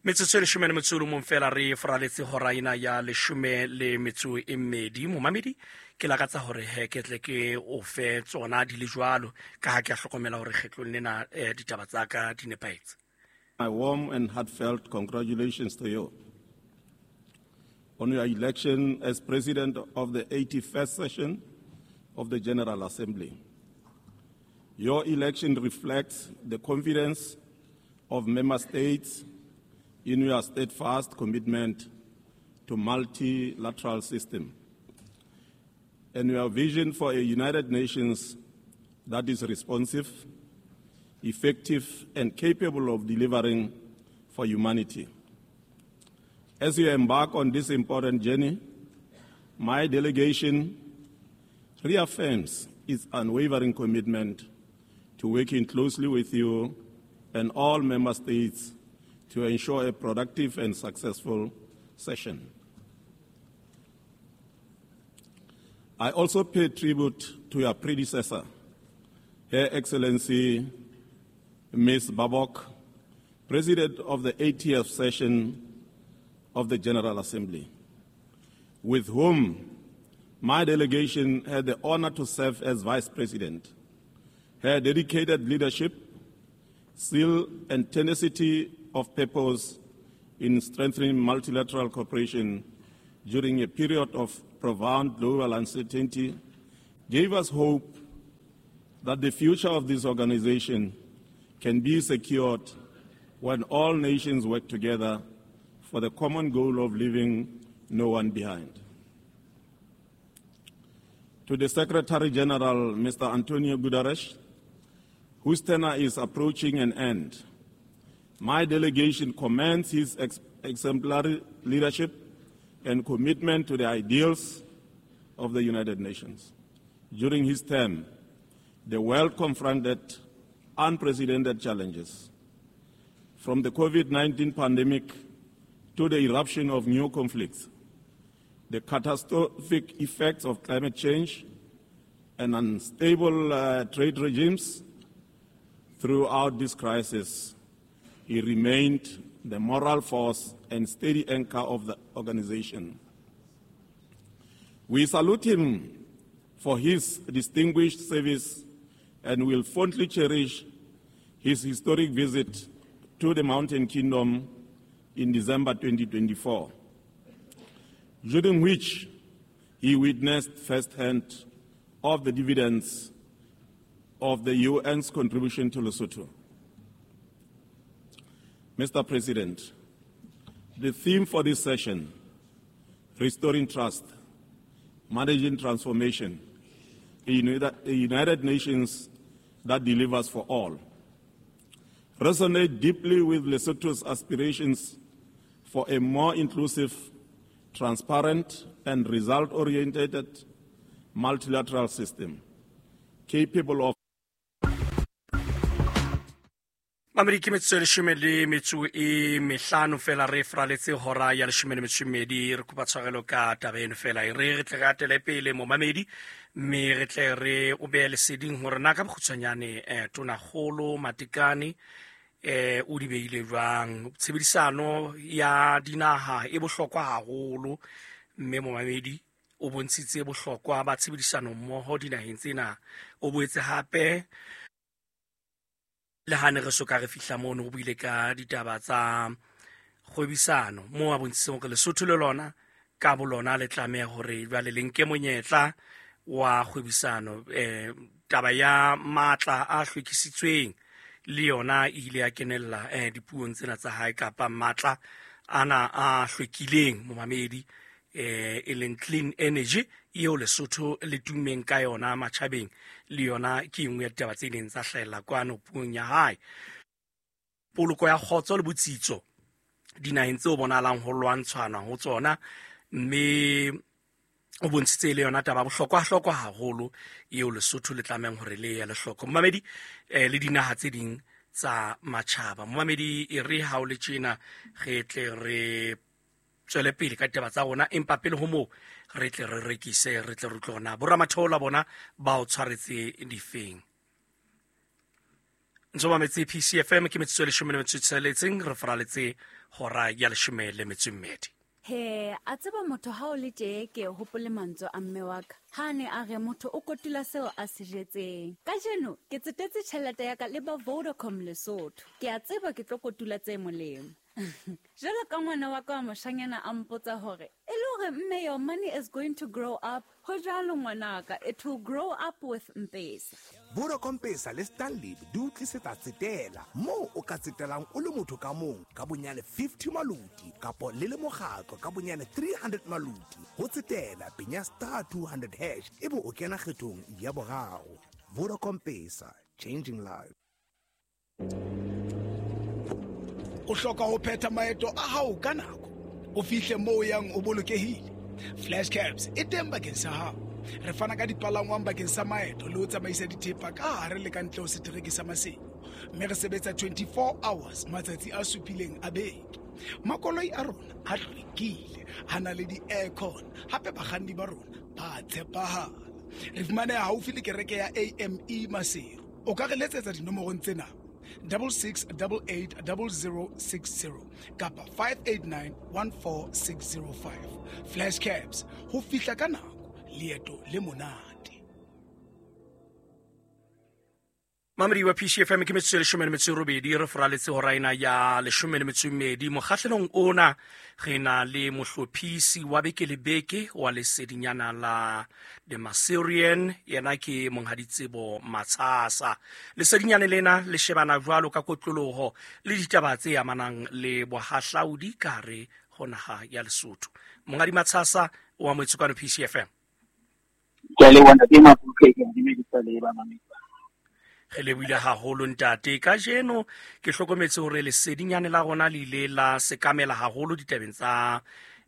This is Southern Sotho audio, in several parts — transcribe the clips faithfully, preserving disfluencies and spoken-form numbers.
Metsotso e leshome le metso e le mong fela re foraletse hora ena ya leshome le metso e mmedi. Momamedi, ke lakatsa hore he ke tle ke o fe tsona di le jwalo, ka ha ke a hlokomela hore kgetlong lena eh, ditaba tsa ka di nepahetse. My warm and heartfelt congratulations to you on your election as President of the eighty-first session of the General Assembly. Your election reflects the confidence of member states in your steadfast commitment to multilateral system and your vision for a United Nations that is responsive, effective, and capable of delivering for humanity. As you embark on this important journey, my delegation reaffirms its unwavering commitment to working closely with you and all member states to ensure a productive and successful session. I also pay tribute to your predecessor, Her Excellency Miz Baerbock, President of the eightieth session of the General Assembly, with whom my delegation had the honor to serve as Vice President. Her dedicated leadership, zeal, and tenacity of purpose in strengthening multilateral cooperation during a period of profound global uncertainty gave us hope that the future of this organization can be secured when all nations work together for the common goal of leaving no one behind. To the Secretary General, Mister Antonio Guterres, whose tenure is approaching an end, my delegation commends his ex- exemplary leadership and commitment to the ideals of the United Nations. During his term, the world confronted unprecedented challenges, from the COVID nineteen pandemic to the eruption of new conflicts, the catastrophic effects of climate change, and unstable, uh, trade regimes. Throughout this crisis, he remained the moral force and steady anchor of the organization. We salute him for his distinguished service and will fondly cherish his historic visit to the Mountain Kingdom in December twenty twenty-four, during which he witnessed firsthand of the dividends of the U N's contribution to Lesotho. Mister President, the theme for this session, Restoring Trust, Managing Transformation, a United, a United Nations that delivers for all, resonate deeply with Lesotho's aspirations for a more inclusive, transparent, and result-oriented multilateral system capable of Mamedi, ke metsotso e leshome le metso e mehlano fela re fraletse hora ya leshome le metso e mmedi. Re kopa tshwarelo ka taba eno fela. E re re tle re atele pele momamedi, mme re tle re o behe leseding hore na ka bokgutshwanyane, eh, Tonakgolo Matekane, eh, o di beile jwang. Tshebedisano ya dinaha e bohlokwa haholo, mme momamedi o bontshitse bohlokwa ba tshebedisano mmoho dinaheng tsena. O boetse hape le ha ne re soka re fihla mono, o buile ka ditaba tsa kgwebisano moo a bontshitseng hore Lesotho le lona ka bolona le tlameha hore jwale le nke monyetla wa kgwebisano. Eh, taba ya matla a hlwekisitsweng le yona e ile ya kenella, eh, dipuong tsena tsa hae, kapa matla ana a hlwekileng momamedi, eh, e leng clean energy eo Lesotho le tummeng ka yona matjhabeng, le yona ke e nngwe ya ditaba tse ileng tsa hlahella kwano puong ya hae. Poloko ya kgotso le botsitso dinaheng tseo bonahalang ho lwantshwana ho tsona, mme o bontshitse le yona taba bohlokwa-hlokwa haholo eo Lesotho le tlamehang hore le ye le hloko momamedi, eh, le dinaha tse ding tsa matjhaba. Momamedi, e re ha o le tjena re tle re tswele pele ka ditaba tsa rona, empa pele ho moo re tle re rekise, re tle re utlwe hore na boramathola bona ba o tshwaretse difeng. Ntse o mametse P C F M, ke metsotso e leshome le metso e tsheletseng, re faraletse hora ya leshome le metso e mmedi. He, a tseba motho ha o le tje ke hopole mantswe a mme wa ka. Ha ne a re motho o kotula seo a se jetseng. Kajeno ke tsetetse tjhelete ya ka le ba Vodacom Lesotho. Ke a tseba ke tlo kotula tse molemo. Jwalo ka ngwana wa ka wa moshanyana a mpotsa hore, e le hore mme your money is going to grow up. Ho jwalo ngwanaka, it will grow up with M-Pesa. Vodacom Pesa le Stanley di o tlisetsa tsetela moo o ka tsetelang o le motho ka mong ka bonyane fifty maluti kapo le le mokgatlo ka bonyane three hundred maluti. Ho tsetela penya star two hundred hash ebe o kena kgethong ya boraro. Vodacom Pesa, changing lives. O hloka ho phetha maeto a hao ka nako, o fihle moo o yang o bolokehile. Flash Cabs e teng bakeng sa hao. Re fana ka dipalangwang bakeng sa maeto le ho tsamaisa dithepa ka hare le ka ntle ho setereke sa Maseru. Mme re sebetsa twenty-four hours matsatsi a supileng a beke. Makoloi a rona a hlwekile, a na le di-aircon, hape bakganni ba rona ba tshepahala. Re fumaneha haufi le kereke ya A M E Maseru. O ka re letsetsa dinomorong tsena: double six double eight double zero six zero kapa five eight nine one four six zero five. Flash Cabs, ho fihla ka nako, leeto le monate. Mamedi wa P C F M, ke metsotso e leshome le metso e robedi, re foraletse hora ena ya leshome le metso e mmedi. Mokgahlelong ona re na le mohlophisi wa beke le beke wa lesedinyana la The Maserian, yena ke Monghadi Tsebo Matshasa. Lesedinyana lena le shebana jwalo ka kotloloho le ditaba tse amanang le bohahlaudi ka hare ho naha ya Lesotho. Monghadi Matshasa o amohetswe kwano P C F M. Ke a leboha ntate Makuke, ke a dumedisa le ba mamedi. Re lebohile haholo ntate. Kajeno ke hlokometse hore lesedinyane la rona le ile la sekamela haholo ditabeng tsa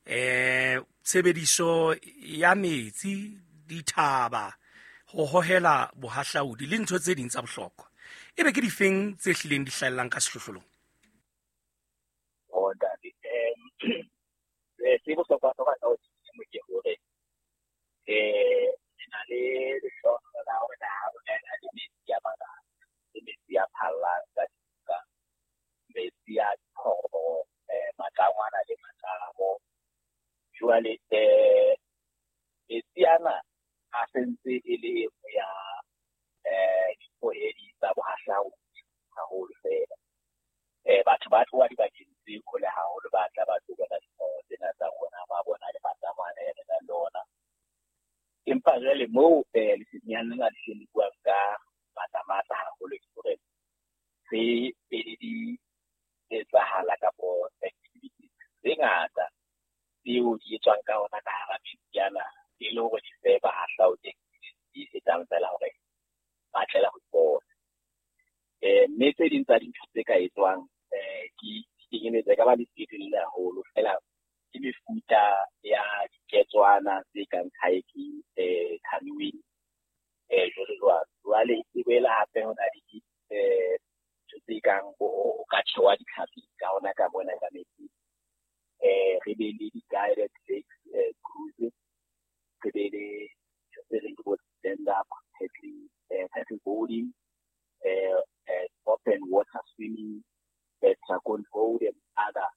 eh tshebediso ya metsi, dithaba, ho hohela bohahlaudi le ntho tse ding tsa bohlokwa. Ebe ke difeng tse hlileng di hlahellang ka sehlohlolong? Oh ntate, eh se bohlokwa ka ho ke hore eh re na le lehlohonolo la hore naha rona e na le metsi a mangata, le metsi a phallang ka dinoka, metsi a diphoro, eh matlangwana le matlamo. Jwale eh metsi ana a sentse e le e nngwe ya eh dikgohedi tsa bohahlaudi haholo fela. Eh batho ba tloha dibakeng tse hole haholo, ba tla ba tlo bona diphoro tsena tsa rona, ba bona le matlangwana a re nang le ona. Empa jwale moo eh lesedinyana lena le hleng le buang ka matla-matla haholo ke hore tse pedi di etsahala kapo activities tse ngata tseo di etswang ka ona ka hara metsi ana, e le hore di fe bahahlaudi di fetang fela hore ba tlela ho di bona. Eh mme tse ding tsa dintho tse ka etswang eh ke kenyelletsa e ka ba lesedi le haholo fela ke mefuta ya diketswana tse kang kayaking, eh canoeing, eh jwalo jwalo. Jwale e boela hape ho na le eh ntho tse kang bo o ka tjhewa ditlhapi ka ona ka mona ka metsi. Eh re be le di-guided lakes eh cruises, re be le ntho tse reng ke bo stand up paddling, eh paddle boarding, eh eh open water swimming, eh dragon boat and other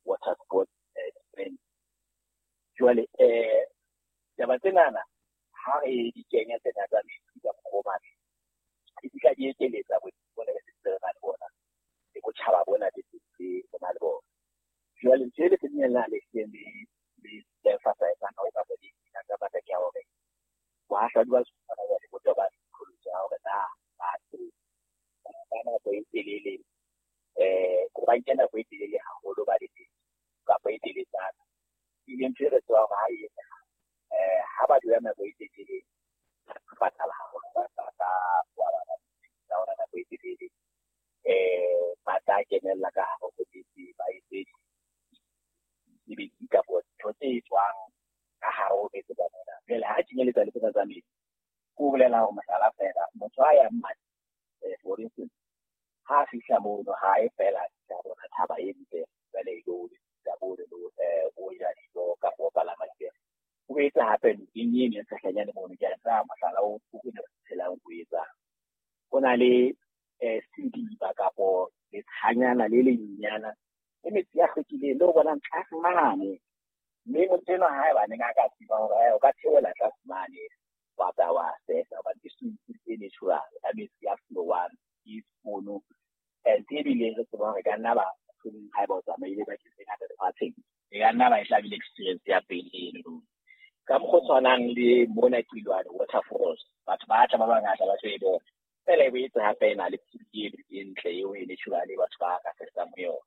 water sports events. Jwale eh taba tsenana ha re di kenya tsena tsa metsi ka mokgwa o matle, di fihla di ekeletsa bona re sentse re na le bona le botjhaba bona be sentse re na le bona. Jwale ntho e lesedinyana lena le hlileng le le emphasize-ang haholo kapa le ka matla ke ya hore bohahlaudi ba Lesotho hona jwale bo tobane le qholotso ya hore na batho ba nako e telele eh ba nke nako e telele haholo ba le teng kapa e teletsana. Ebile ntho e re tsebang hore ha e etsahala eh ha ba dula nako e telele ba tlala haholo, ba ba ba ba ona nako e telele eh ba tla kenella ka hare ho metsi, ba etse mesebetsi kapa ntho tse etswang ka hare ho metsi ka mona. Jwale ha kenyeletsa le tsena tsa metsi, ke ho bolela hore mohlala fela motho a yang mane eh for instance ha a fihla mono ha e fela a fihla bona thaba e ntle jwale e lo bo le lo eh o ja dijo kapa o palama dipere. O etsa hape nokeng eno e tshehlanyane mono, ke a tsaya mohlala o o ke phelang o etsang. Ho na le eh sediba letshanyana le lenyenyana le metsi a hlwekileng le o bonang tlase mane. Mme motho enwa haebaneng a ka tseba hore o ka theohela tlase mane wa tla wa sesa hobane ke swimming pool e natural ka metsi a flow-ang ke mono. And ebile re tseba hore e ka nna ba mohlomong haeba o tsamaile bakeng tse ngata lefatsheng, e ka nna ba e tla bile experience ya pele eno. Ka mokgwa o tshwanang le mona Qilwane waterfalls, batho ba tla ba bangata ba tlo e bona. Feela e boetse hape e na le pool eno e ntle eo e natural e batho ba ka sesang ho yona.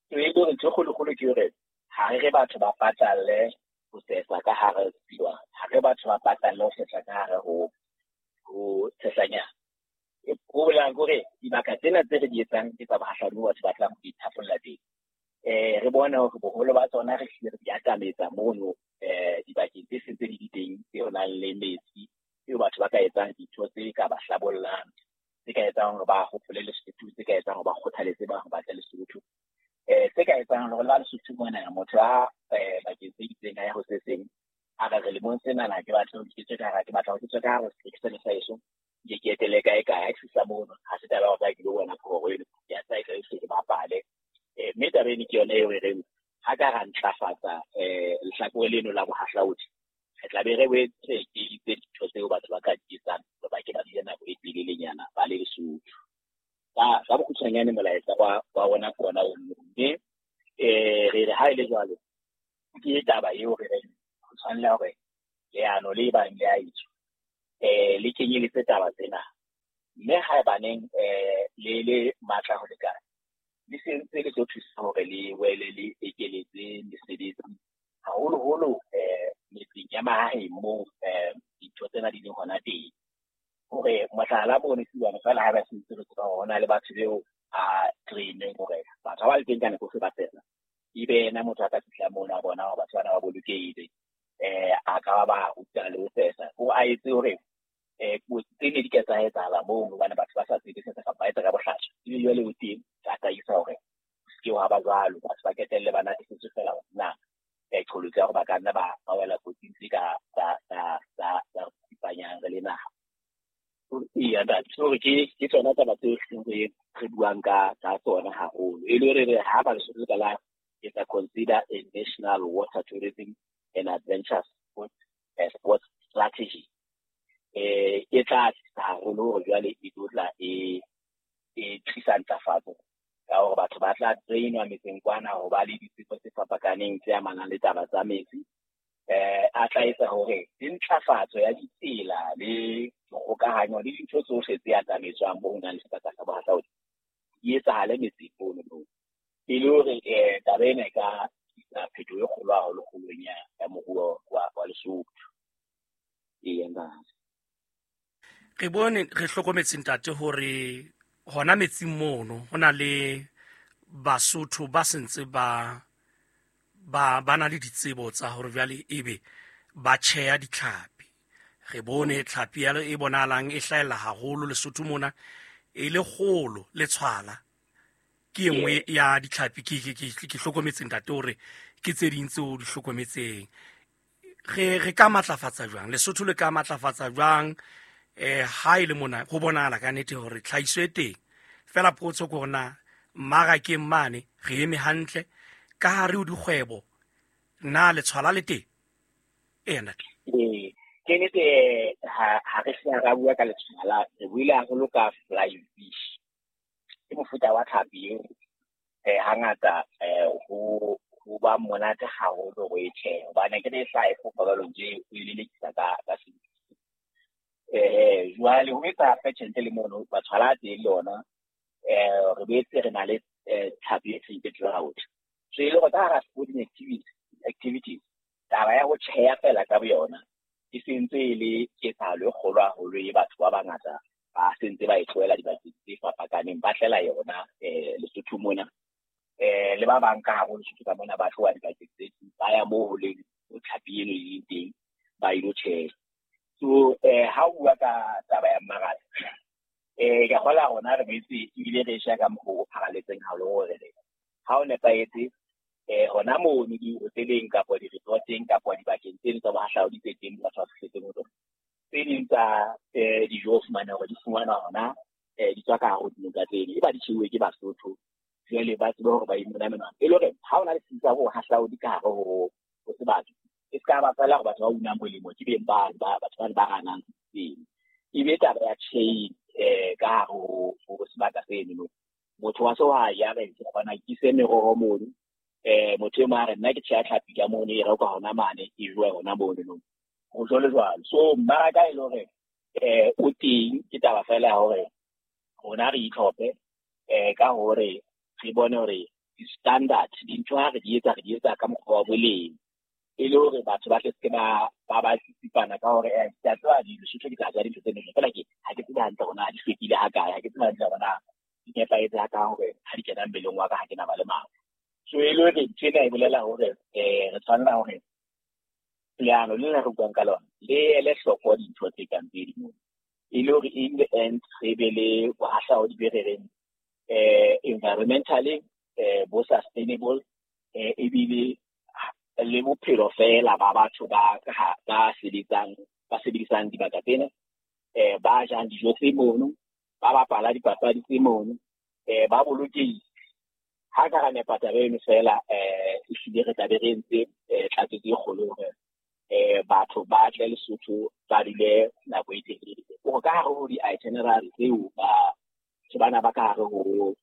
So e le hore ntho e kgolo-kgolo ke hore ha re re batho ba patalle ho sesa ka hare ho Qilwane, ha re batho ba patalle ho sesa ka hare ho ho Tshehlanyana. Ho bolelang ke hore dibaka tsena tse re di etsang ke tsa bohahlaudi moo batho ba tlang ho ithapolla teng. Eh re bone hore boholo ba tsona re hlile re di atametsa mono eh dibakeng tse seng tse di teng tseo nang le metsi, tseo batho ba ka etsang dintho tse ka ba hlabollang, tse ka etsang hore ba hopole Lesotho, tse ka etsang hore ba kgothaletse ba hore ba tle Lesotho. Eh tse ka etsang hore la Lesotho mona motho a eh bakeng tse itseng a ya ho se seng, a re re lemong senana ke batla ho ke tswe ka hara, ke batla ho ke tswe ka hare ho sehleke sa heso, ke ke etele kae kae, ha ke fihla mono ha se taba ya hore ke lo bona phoro eno, ke a tsaya ke ke bapale. Eh mme taba eno ke yona eo re reng ha ka ra ntlafatsa eh lehlakore leno la bohahlaudi, re tla be re boetse ke itse dintho tseo batho ba ka di etsang hore ba ke ba dule nako e telelenyana ba le Lesotho. Ka ka bokgutshwanyane molaetsa wa wa rona ke ona ono. Mme eh re re ha e le jwalo ke taba eo re reng ho tshwanela hore leano le bang le a etswa eh le kenyeletse taba tsena. Mme haebaneng eh le le matla ho lekana, le sentse le tlo thusa hore le wele le ekeletse mesebetsi haholoholo eh metseng ya mahaeng moo eh dintho tsena di leng hona teng. Hore mohlala mono Qilwane feela ha ba sentse re tseba hore ho na le batho beo a train-eng hore batho ha ba le teng ka nako tsohle ba sesa, ebe yena motho a ka fihla mono a bona hore batho bana ba bolokehile, eh a ka ba ba ruta le ho sesa, hore a etse hore eh kotsi tse ne di ka tsa etsahala moo hobane batho ba sa tsebe sesa kapa ba etsa ka bohlaswa, ebe jwale o teng tataisa hore ho se ke hwa ba jwalo, batho ba ketelle ba natefetswe feela hore na eh qholotso ya hore ba ka nna ba ba wela kotsing tse ka tsa tsa tsa tsa tsipanyang re le naha. Eya ntate, so ke ke tsona taba tseo re re buang ka ka tsona haholo. E le hore re ha ba Lesotho ka la etsa consider a national water tourism and adventure sport, sports strategy. Eh e tla tlisa haholo hore jwale e tlo tla e e tlisa ntlafatso ka hore batho ba tla train-wa metseng kwana ho ba le ditsebo tse fapakaneng tse amanang le taba tsa metsi. Eh a tla etsa hore ntlafatso ya ditsela le dikgokahanyo le dintho tsohle tse atametswang moo ho nang le sebaka sa bohahlaudi di etsahale metseng mono moo. E le hore eh taba ena e ka tlisa phetoho e kgolo haholo kgolong ya ya moruo wa wa Lesotho. Eya ntate. Re bone re hlokometse ntate hore hona metsing mono ho na le Basotho ba sentse ba ba ba na le ditsebo tsa hore jwale ebe ba tjheya ditlhapi. Re bone tlhapi ya e bonahalang e hlahella haholo Lesotho mona e le kgolo le tshwala. Ke e nngwe ya ditlhapi ke ke ke ke hlokometse ntate hore ke tse ding tseo di hlokometseng. Re re ka matlafatsa jwang Lesotho le ka matlafatsa jwang eh ha e le mona ho bonahala ka nnete hore tlhahiso e teng. Feela potso ke hore na mmarakeng mane re eme hantle ka hare ho dikgwebo na le tshwala le teng? Eya ntate. Ee, ke nnete ha ha re se ra bua ka letshwala, re buile haholo ka flying fish. Ke mofuta wa tlhapi eo eh hangata eh ho ho ba monate haholo ho e tjheha hobane ke ne e hlaha e fofa jwalo nje o e lelekisa ka ka sefi. Eh jwale ho etsa hape tjhelete le mono ba tshwala teng le yona eh re boetse re na le tlhapi e teng ke trout. So e le hore ka hara sporting activities activities taba ya ho tjheha feela ka boyona e sentse e le ketsahalo e kgolo haholo e batho ba bangata ba sentse ba e tlohela dibakeng tse fapakaneng ba tlela yona eh Lesotho mona. Eh le ba bang ka hare ho Lesotho ka mona ba tloha dibakeng tse ding ba ya moo ho leng ho tlhapi eno e leng teng ba ilo tjheha. So eh ha o bua ka taba ya mmaraka eh ke kgola rona re boetse ebile re sheba ka mokgwa o pharaletseng haholo hore re ha o nepahetse eh hona mono di-hoteleng kapa di-resorteng kapa dibakeng tseno tsa bohahlaudi tse teng batho ba fihletseng ho tsona. Tse ding tsa eh dijo o fumana hore di fumanwa hona eh di tswa ka hare ho dinoka tseno, eba di tjheuwe ke Basotho Jwale ba tsebe hore ba imona menwana. E le hore ha o na le setsi sa bohahlaudi ka hare ho ho sebaka, e se ka ba feela hore batho ba unang molemo ke beng ba batho ba ba ranang seng. E be taba ya chain eh ka hare ho ho sebaka seno. Motho wa sehwai ya re ke kgona ke ise meroho mono, eh motho e mong a re nna ke tjheha tlhapi ka mono, e rekwa hona mane, e jowa hona mono no. Ho jwalo jwalo. So mmaraka e le hore eh o teng, ke taba feela ya hore rona re itlhophe eh ka hore re bone hore di-standard dintho ha re di etsa re di etsa ka mokgwa wa boleng, e le hore batho ba tle se ke ba ba ba tsitsipana ka hore eh ke a tseba Lesotho ke tla ja dintho tse ntle, feela ke ha ke tsebe hantle hore na di hlwekile ha kae, ha ke tsebe hantle hore na di nepahetse ha kae hore ha di kena mmeleng wa ka ha ke na ba le mafu. So e le hore ntho ena e bolela hore eh re tshwanela hore leano le le re buang ka lona le ele hloko dintho tse kang tse ding, e le hore in the end re be le bohahlaudi be re reng eh environmentally eh bo sustainable, eh ebile le bophelo feela ba batho ba ba sebetsang ba sebedisang dibaka tsena, eh ba jang dijo tse mono, ba bapala dipapadi tse mono, eh ba bolokehile. Ha ka ra nepa taba eno feela, eh ehlile re tla be re entse tlatsetso e kgolo hore eh batho ba tle Lesotho ba dule nako e telele. Hore ka hare ho di-itinerary tseo ba bana ba ka hare ho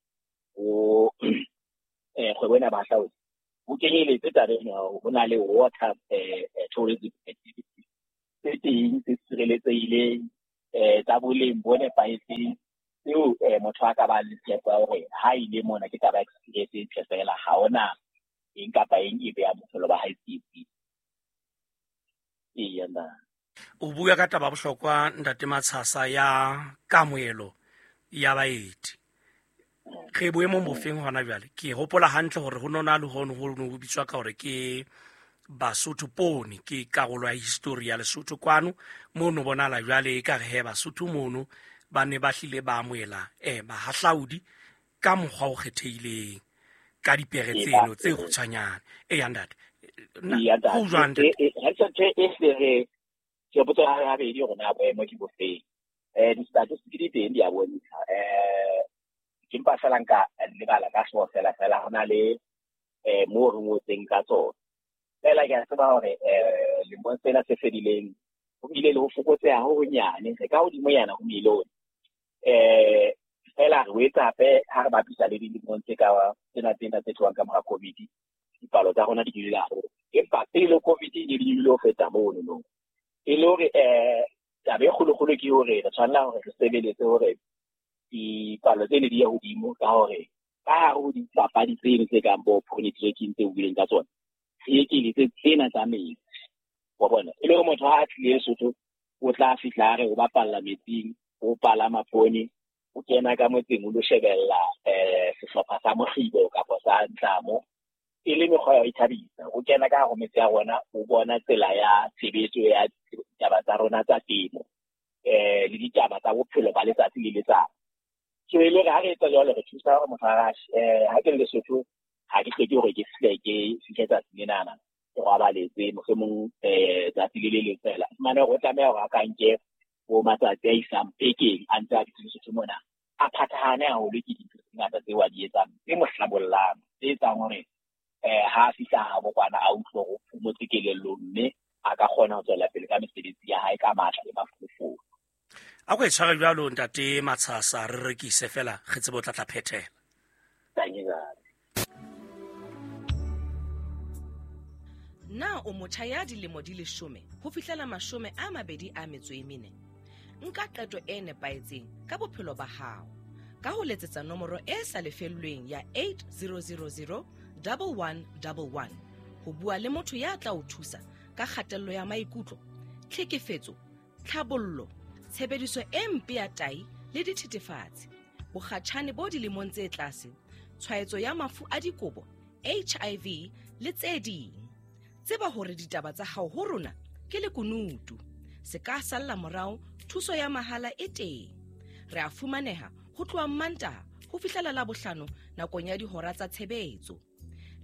ho eh kgwebo ena ba hlaotse, ho kenyeletse taba ena ho na le water eh tourism activities tse teng tse sireletsehileng, eh tsa boleng bo nepahetseng, tseo eh motho a ka ba le tshepo ya hore ha ile mona ke taba experience e ntle feela, ha hona eng kapa eng e beha bophelo ba hae tsietsing. Eya nna. O bua ka taba bohlokwa ntate Matshasa ya kamohelo ya baeti. Re boemong bofeng hona jwale? Ke hopola hantle hore ho nona le hono ho no bitswa ka hore ke Basotho poone, ke karolo ya history ya Lesotho kwano mono bonala jwale e ka re he Basotho mono ba ne ba hlile ba amohela eh bahahlaudi ka mokgwa o kgethehileng ka dipere tseno tse kgutshwanyane. Eya ntate. Ho jwang ntate? Ha tjhe e hle re ke botsa ha habedi hore na boemo ke bofeng. Eh di-statistics di teng di a bontsha. Eh ke mpa fela nka lebala ka hlooho fela fela ho na le eh moo re ngotseng ka tsona. Fela ke a tseba hore eh lemong sena se fedileng ho bile le ho fokotseha ho honyane, re ka hodimo yana ho milione. Eh fela re etsa hape ha re bapisa le dilemong tse ka tsena tsena tse tlohang ka mora COVID, dipalo tsa rona di nyolohile haholo. Empa pele COVID e ne di nyolohile ho feta mono no. E le hore eh taba e kgolokgolo ke hore re tshwanela hore re sebeletse hore dipalo tsene di ye hodimo, ka hore ka hare ho dipapadi tseno tse kang bo pony trekking tse buileng ka tsona, re ekeletse tsena tsa metsi. Wa bona, e le hore motho ha a tlile Lesotho o tla fihla a re o bapalla metsing, o palama pony, o kena ka motseng o lo shebella eh sehlopha sa mokgibo kapa sa ntlamo, e le mekgwa ya ho ithabisa. O kena ka hare ho metse ya rona, o bona tsela ya tshebetso ya ditaba tsa rona tsa temo, eh le ditaba tsa bophelo ba letsatsi le letsatsi. So e le hore ha re etsa jwalo re thusa hore motho a eh ha ke le Lesotho ha ke hloke hore ke fihle ke fihle tsatsi lenana ke robaletse mohlomong eh tsatsi le le leng fela. Fumane hore o tlameha hore a ka nke bo matsatsi a isang bekeng a ntse a dutse Lesotho mona, a phathahane haholo ke dintho tse ngata tseo a di etsang tse mo hlabollang, tse etsang hore eh ha a fihla habo kwana a utlwe hore o phomotse kelellong, mme a ka kgona ho tswela pele ka mesebetsi ya hae ka matla le mafolofolo. A ko e tshware jwalo ntate Matshasa, re rekise fela re tsebe o tla tla phethela. Na o motjha ya dilemo di leshome ho fihlela mashome a mabedi a metso e mene? Nka qeto e nepahetseng ka bophelo ba hao ka ho letsetsa nomoro e sa lefellweng ya eight zero zero zero one one one one ho bua le motho ya tla o thusa ka kgatello ya maikutlo, tlhekefetso, tlhabollo, tshebediso e mpe ya tai le dithethefatsi, bokgatjhane bo dilemong tse tlase, tshwaetso ya mafu a dikobo, H I V le tse ding. Tseba hore ditaba tsa hao ho rona ke lekunutu. Se ka salla morao, thuso ya mahala e teng. Re a fumaneha ho tloha Mantaha ho fihlela Labohlano nakong ya dihora tsa tshebetso.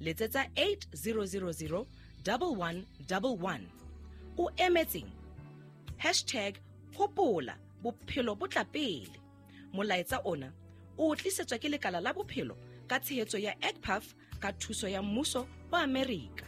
Letsetsa eight zero zero zero one one one one. O emetseng? Hashtag hopola bophelo bo tla pele. Molaetsa ona o tlisetswa ke lekala la bophelo Ka tshehetso ya E C P A F ka thuso ya mmuso wa Amerika.